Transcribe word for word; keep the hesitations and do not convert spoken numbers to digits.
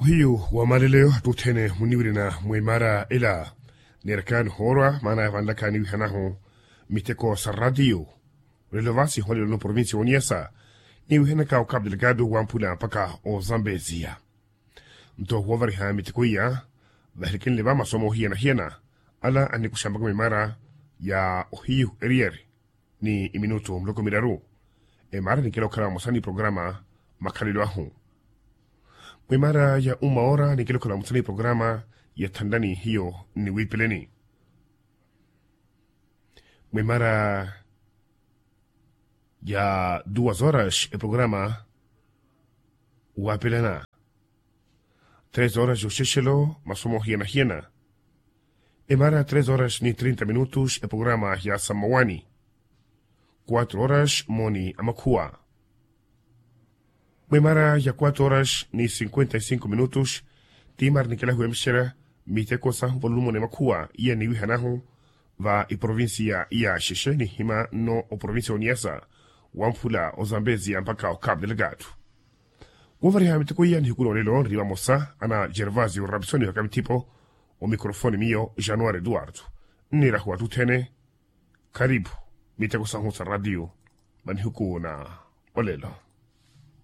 Ohiyu wa maleleyo attuthene muniwirina mwimaara ela. Niirakaani hoorwa maana yavanlakaani wihanahu miteko sa ratiyo. Olelo vasi holelano provincia oniyasa niwihanaka okapu delegado wamphula mpaka ozambezia. Nto woovariha miteko iya vahilikenle va masomo ohiyana-hiyana ala anikuxa mpaka mwimaara ya ohiyu eriyari ni iminutu muloko miraru. Emaara nikela okhala vamosa ni programa makhalelo ahu. Mwimaara ya uma ora nikela okhala vamosa ni programa ya thanlani hiyo nniwiipeleni. Mwimaara ya duas horas eprograma wapelana. Tres horas yoxexelo masomo ohiyana-hiyana. Emaara tres horas ni trinta minutos eprograma ya samawani. Quatro horas moni amakhuwa. Mwimaara ya quatro horas ni cinquenta y cinco minutos, timaara nikela huwemixela miteko sahu valulumoni amakhuwa iya niwihanahu va iprovincia iya xexe nihima nno oprovincia oniyasa wamphula ozambezia mpaka okapu delegado. Woovariha miteko iya nihiku noolelo nri vamosa ana gervasio rapsoni vaka mithipo. Omicrofoni miyo januari eduardo. Nniirahu attuthene. Kharipu miteko sahu sa ratiyo manihuku na olelo.